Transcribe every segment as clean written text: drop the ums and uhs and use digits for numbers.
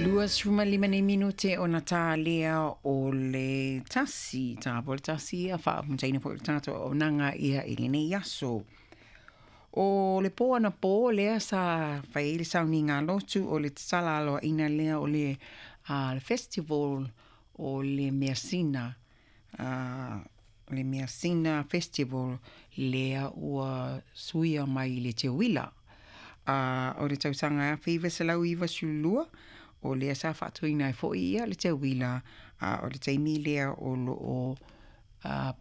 25 nei minute ona tā lea o le 1, tā po le 1 ia faamusaina foi le tatou auaunaga ia i lenei aso. O le pō anapō lea sa fai ai le sauniga a lotu o le tatala aloaʻina lea o le le festival o le measina le measina festival lea ua suia mai i le Teuila. O le tausaga e 1992 o lea sa faatuina ai foi ia le Teuila, a o le taimi lea o lo o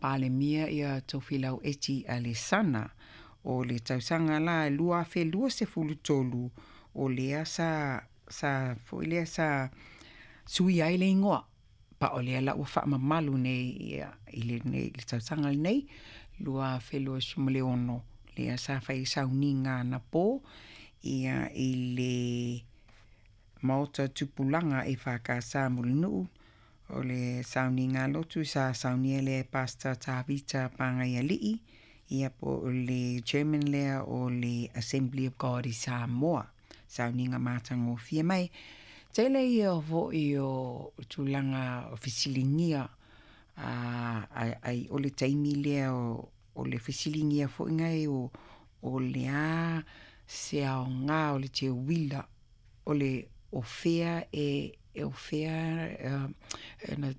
Palemia ia Tofilau Eti Alesana. O le tausaga la e 2023 o lea sa sa foi lea sa suia ai le igoa, pa o lea la ua faamamalu nei ia i lenei le tausaga lenei 2026, lea sa fai ai sauniga anapo ia i le Maota Tupulaga EFKS Mulinuu. O le sauniga lotu sa saunia lea e Pastor Tavita Pagaialii, ia po o le chairman lea o le Assembly of God i Samoa. Sauniga matagofie mai. Tele ia foi o tulaga o fesiligia ai o le taimi lea o le fesiligia foi nei o le a se aoga o le teuila, o le o fea e o fea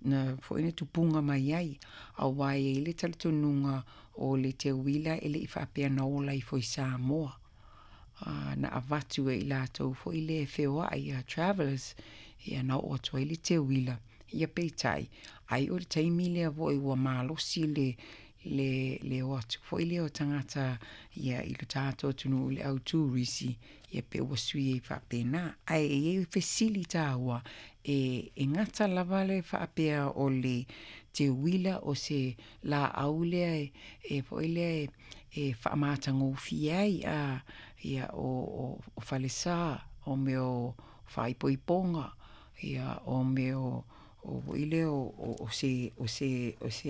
na foi na tupuga mai ai, aua e i ai le talitonuga o le teuila e le i faapea na ola ifo i Samoa, na avatu e i latou foi lea e feoai ia travellers, ia na oo atu ai le teuila. Ia peitai, ai o le taimi lea foi ua malosi le o atu foi lea o tagata ia i le tatou atunuu le au turisi, ia pe ua sui ai faapena. Ae e i ai fesili taua, e gata lava le faapea o le teuila o se laau lea e foi lea e faamatagofie ai ia o falesa, o mea o faaipoipoga, ia o mea o foi lea o se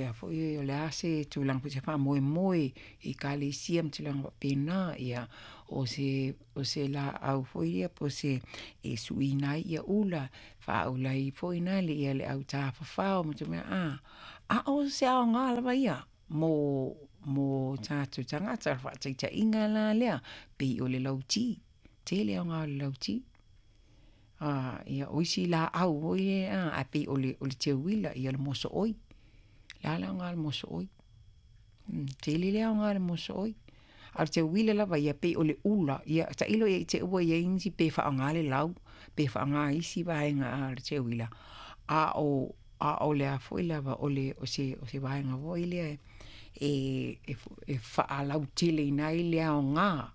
a foi o le a se tulaga foi se faamoemoe i ekalesia ma tulaga faapena, ia o se laau foi ia po o se e suiina ai ula, faaula ai foi na le le au tafafao ma a o se aoga lava ia mo tatou tagata. O le faataitaiga la lea, pei o le lauti, tele aoga o le lauti. Ia o isi laau foi ia ae pei o le teuila, ia o le mosooi. O le a le aoga o le mosooi? Tele le aoga o le mosooi. A o le teuila lava ia pei o le ula, ia tailo i ai i te i ua i ai nisi pe faaaoga le lau, pe faaaoga isi vaega o le teuila, a o le a foi lava o se vaega foi lea e faalauteleina ai le aoga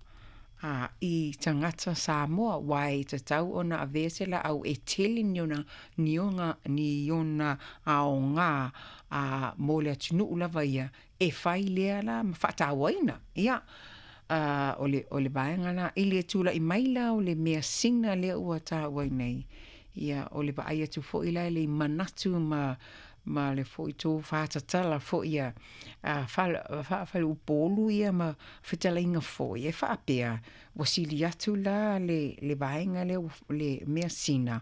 i tagata Samoa, aua e tatau ona avea se laau e tele ni ona aoga mo le atunuu lava ia, e fai lea la ma faatauaina. Ia, o le vaega lena. I le tulai mai la o le measina lea ua taua nei, ia o le vaai atu foi la i manatu ma le foi tofa tatala foi a Faleupolu ia ma fetalaiga foi e faapea, ua sili atu la le vaega lea le measina,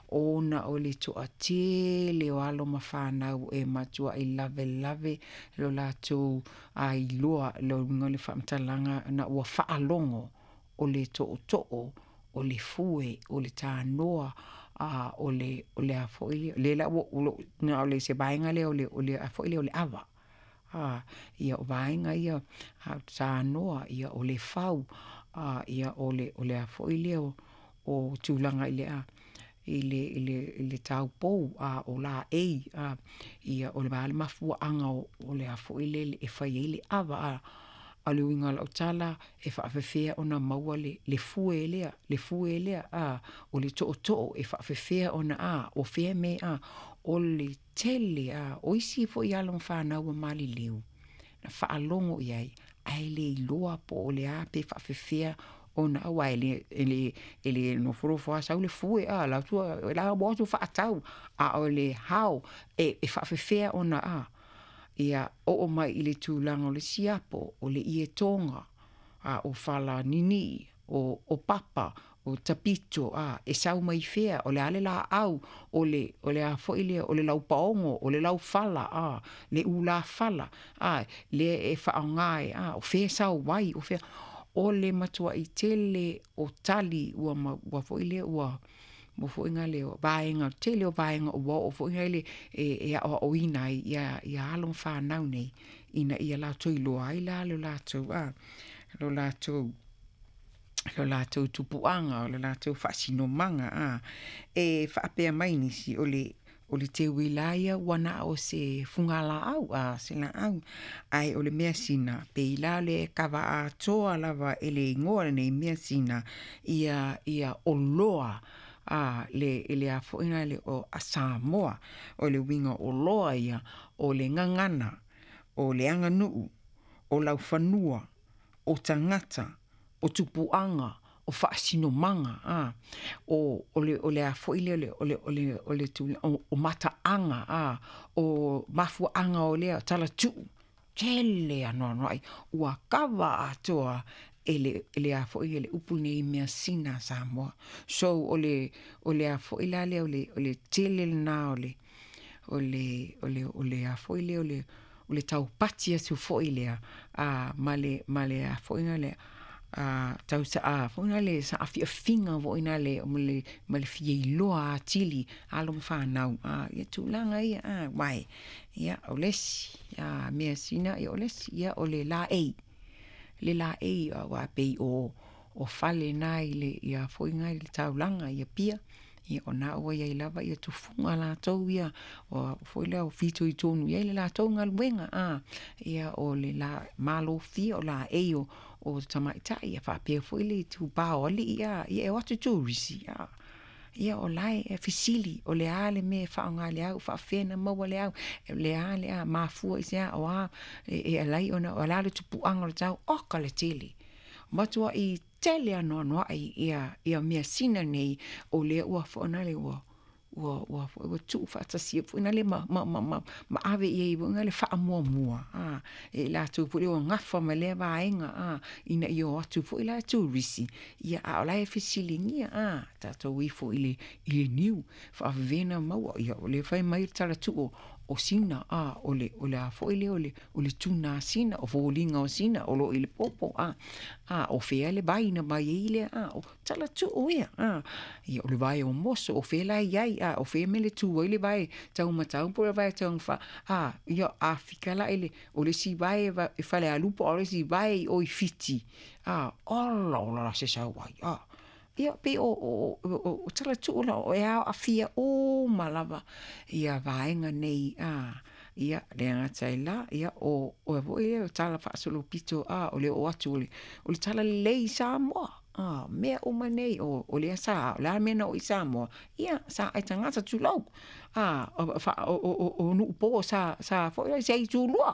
ona o le toatele o alo ma fanau e matuai lavelave lo latou ailoa le uiga o le faamatalaga na ua faalogo o le tootoo, o le fue, o le tanoa, o le a foi lea la ua na o le se vaega lea o le a foi lea o le ava. Ia o vaega ia tanoa, ia o le fau, ia o le a foi lea o tulaga i le taupou, o laei, ia o le a le mafuaaga o le a foi lele e fai ai le ava. A o le uiga o lau tala, e faapefea ona maua le fue lea, o le tootoo, e faapefea ona o fea mea, o le tele, o isi foi alo ma fanau ua maliliu, na faalogo i ai, ae le iloa po o le a pe faapefea ona, aua e le nofonofo lava sau le fue, alu atu faatau, a o le how, e faapefea ona, ia oo mai i le tulaga o le siapo, o le ietoga, o falanini'i, o papa. o tapito, a, e sau mai fea, o le a le laau, o le, o le a foi lea, o le laupaogo, o le laufala, a, le ulafala, a, lea e faaaoga e, a, o fea e sau ai, o fea, o le matuai tele o tali ua ma, ua foi lea ua, ua foi na le vaega, tele o vaega ua oo foi na le e, e aoaoina ai ia, ia alo ma fanau nei, ina ia latou iloa ai la lo latou, a, lo latou, lo latou tupuaga, o le latou faasinomaga, a. E faapea mai nisi, o le, o le teuila ia ua na o se fugalaau, a, se laau, ae o le measina, pei la le kava atoa lava e le igoa lenei measina, ia, ia oloa, a, le, le a foi na le o a Samoa, o le uiga o oloa ia, o le gagana, o le aganuu, o laufanua, o tagata, o tupuaga, o faasinomaga, a, o, o le, o le a foi lea, o le, o le, o le, o, o mataaga, a, o mafuaaga o lea talatuu, tele anoanoai, ua kava atoa e le, e le a foi e le upu lenei measina a Samoa. So o le, o le a foi la lea o le, o le tele lena o le, o le, o le, o le a foi lea o le, o le taupati atu foi lea, a, ma le, ma le a foi na le, a, tau sa, a, foi na le saafiafiga foi na le, ma le, ma le fia iloa atili alo ma fanau, a, ia tulaga ia, a, uae, ia, o le isi, a, measina, ia o le isi, ia o le laei, le laei, aua pei o, o fale na i le, ia foi na i le taulaga i Apia, ia o na ua i ai lava ia tufuga latou ia, o foi lea o fitoitonu i ai le latou galuega, a, ia o le la, malofia o laei o, o tamaitai, ia faapea foi le itupa o alii, a, ia e o atu turisi, a, ia o la e fesili, o le a le mea e faaaoga i le au, faapefea ona maua le au, o le a le a, mafua i se a, o a, e, e ala ai ona, o le a le tupuaga o le tau, oka le tele. Matuai tele anoanoai ia, ia measina nei, o lea ua foanale ua, ua, ua, ua tuufaatasia foi na le ma, ma, ma, ma, ma ave i ai foi na le faamuamua, a, e latou foi lea ua gafa ma lea vaega, a, ina ia o atu foi la turisi, ia a o la e fesiligia, a, tatou ifo i le, i le niu, faavavena maua, ia o le fai mai le talatuu o Sina, a, o le, o le a foi lea o le, o le tuna a Sina, o foliga o Sina, o loo i le popo, a, a, o fea le vai na mai ai lea, a, o talatuu ia, a, ia o le vae o moso, o fea la i ai, a, o fea mea le tu ai le vae taumatau po o le vae taugafa, a, ia a fika la i le, o le isi vae e Falealupo, a o le isi vae i o i Fiti, a, ola ola la se sau ai, a. Ia, pei o, o, o, o talatuu la, o e aafia uma lava ia vaega nei, a, ia, le gata i la, ia, o, o foi lea o tala faasolopito, a, o le oo atu o le, o le talalelei i Samoa, a, mea uma nei, o, o lea sa, o le a le mea na oo i Samoa, ia, sa ai tagata tulou, a, o, fa, o, o, o, o nuu po sa, sa foi se itulua,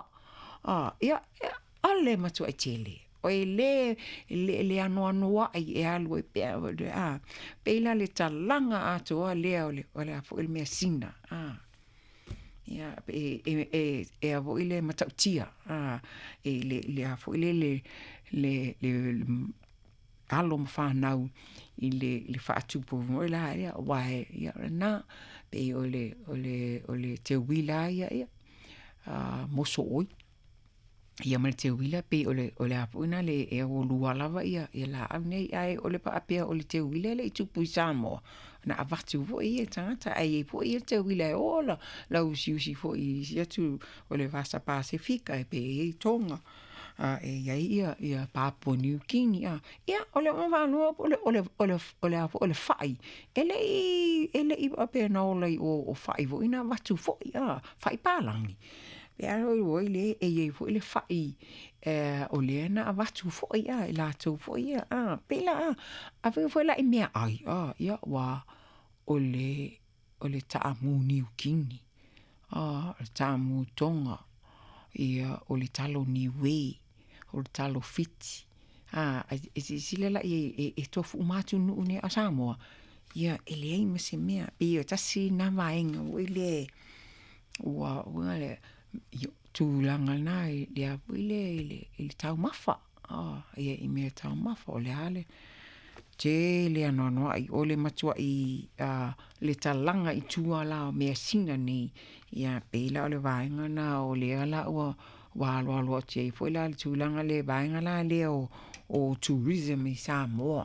a, ia, ia, o le matuai tele. E lē le, le anoanoai e alu ai pea, a, pei la le talaga atoa lea o le, o le a foi le measina, a. Ia, e, e, e, e a foi le matautia, a, e le, le a foi le, le, le, le, le alo ma fanau i le, le faatupu foi la ia, uae, ia, lena, pei o le, o le, o le teuila ia, ia, a, moso oi. Ia ma le teuila pei o le, o le a foi na le e lua lava ia, ia laau nei, ae o le faapea o le teuila e le i tupu i Samoa. Na avatu foi ia tagata, ae i ai foi ia teuila e ola, la usiusi foi i isi atu o le Vasa Pasefika e pei e i ai Tonga, a, e i ai ia, ia Papua Niu Kini, a, ia, o le fanua, o le, o le, o le, o le a foi, o le fai, e le i, e le i faapea na ola i o, o fai foi na avatu foi, a, fai palagi. Pe a oi le e i ai foi le fai, o lea na avatu foi, a, e latou foi ia, a, pei la, a, a foi foi la i meaai, a, ia, ua, o le, o le taamu Niukini, a, o le taamu Tonga, ia, o le talo Niue, o le talo Fiti, a, e silasila la i ai, e, e tofu uma atunuu nei a Samoa, ia, e leai ma se mea, pei o tasi na vaega foi lea, ua, ua le, ia, tulaga lena i le a foi lea i le, i le taumafa, a, ia i mea taumafa, o le a le. tele anoanoai o le matuai le talaga i tua la o measina nei. Ia pei la o le vaega lena o lea la ua aloalo atu ai foi la le tulaga le vaega la lea o tourism i Samoa.